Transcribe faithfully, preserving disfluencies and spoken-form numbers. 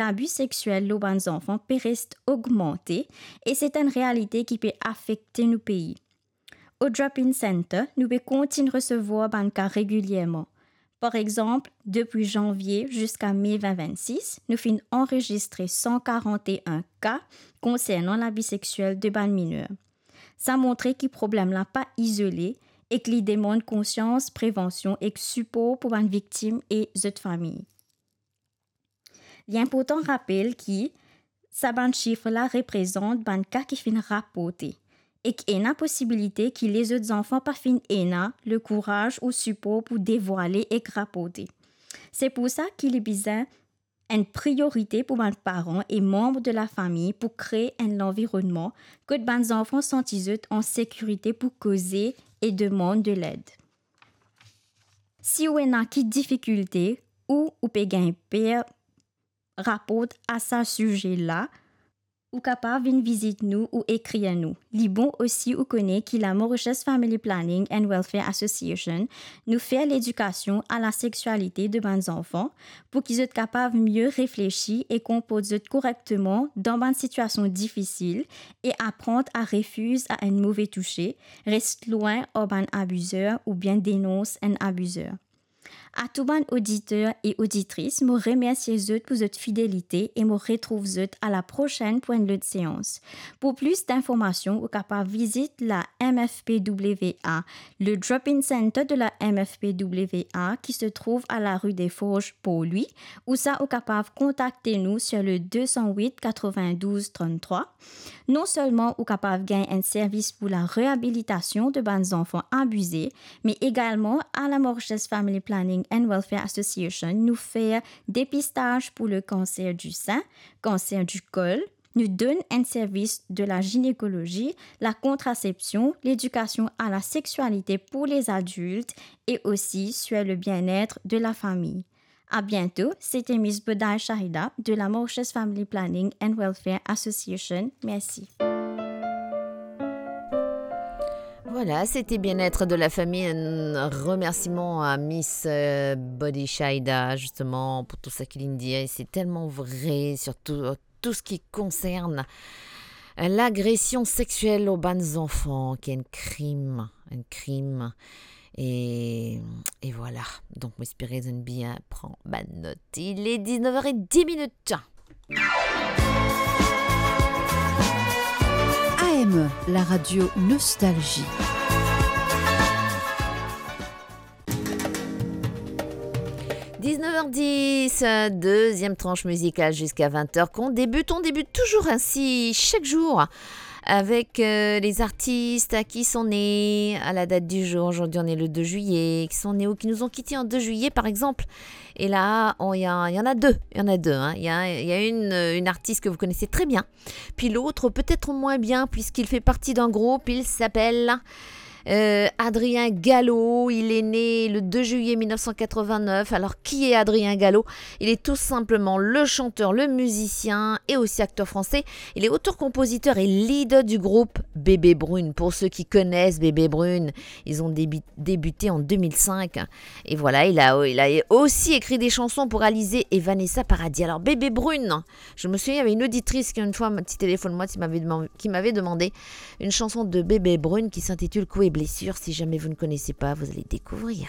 labi sexiel lor bann zanfan pe res ogmante e se enn realite ki pe afekte nou pei. O Drop-In Center, nou pe kontign resevwar bann ka regilierman. Par exanp, depi zanvie ziska me vin vinn sis, nou finn anrezistre san karant-e-enn ka konsernan labi sexiel de bann miner. Sa montre ki problem la pa izole ek li demann konsians, prevansion ek sipor pou bann viktim e zot fami. Li inportan rapel ki sa bann sif la reprezant bann ka ki finn raporte, ek ena posibilite ki lezot zanfan pa finn ena lekouraz ou sipor pou devwale ek raporte. Se pou sa ki li bizin enn priorite pou bann paran e manb de lafami pou kree enn lanvironnman kot bann zanfan santi zot an sekirite pou koze e demann de led. Si ou ena ki difikilte ou ou pe gagn per raport a sa size la, ou kapav vinn vizit nou ou ekrir nou. Li bon osi ou kone ki la Mauritius Family Planning and Welfare Association, nou fer ledikasion a la sexialite de bann zanfan pou ki zot kapav mie reflesi e konport zot korekteman dan bann sitiasion difisil e aprann a refiz a enn move touse, res lwin ar bann abizer oubien denons enn abizer. A tou bann oditer e oditris, mo remersie zot pou zot fidelite e mo retrouv zot a la prosenn pou enn lot seans. Pou plis dinformasion, ou kapav vizit la M F P W A, le Drop-In Center de la M F P W A qui se trouve à la rue des Forges, Port-Louis, ou sa ou kapav kontakte nou sur le deux cent huit quatre-vingt-douze trente-trois. Non selman ou kapav gagn enn servis pou la reabilitasion de bann zanfan abize, me egalman a la Mauritius Family Planning and Welfare Association, nou fer depistaz pou le kanser di sin, kanser di kol, nou donn enn servis de la ginekolozi, la kontrasepsion, ledikasion a la sexialite pou les adultes e osi sur le bien-être de la famille. À bientôt, c'était Miss Bodai Shahida de la Mauritius Family Planning and Welfare Association. Merci. Voilà, c'était Bien-être de la famille. Un remerciement à Miss, euh, Body Shahida, justement, pour tout ça qu'il vient de dire. Et c'est tellement vrai, surtout, euh, tout ce qui concerne, euh, l'agression sexuelle aux bann zanfan, qui est un crime, un crime. Et, et voilà. Donc, mo espere zot inn bien pran bann not. Il est dix-neuf heures et dix minutes. A M E, la radio Nostalgie. Dix-neuf heures dix, euh, deuxième tranche musicale jusqu'à vingt heures qu'on débute. On débute toujours ainsi chaque jour avec, euh, les artistes qui sont nés à la date du jour. Aujourd'hui, on est le deux juillet, qui sont nés ou qui nous ont quittés en deux juillet, par exemple. Et là, on, il y a, il y en a deux, il y en a deux, hein. Il y a, il y a une, euh, une artiste que vous connaissez très bien, puis l'autre, peut-être moins bien, puisqu'il fait partie d'un groupe, il s'appelle, euh, Adrien Gallo. Il est né le deux juillet mille neuf cent quatre-vingt-neuf. Alors, qui est Adrien Gallo ? Il est tout simplement le chanteur, le musicien et aussi acteur français. Il est auteur-compositeur et leader du groupe Bébé Brune. Pour ceux qui connaissent Bébé Brune, ils ont débu-, débuté en deux mille cinq. Et voilà, il a, il a aussi écrit des chansons pour Alizé et Vanessa Paradis. Alors, Bébé Brune, je me souviens, il y avait une auditrice qui, une fois, ti téléfone moi, qui m'avait deman-, qui m'avait demandé une chanson de Bébé Brune qui s'intitule Coups et blessures. Si jamais vous ne connaissez pas, vous allez découvrir.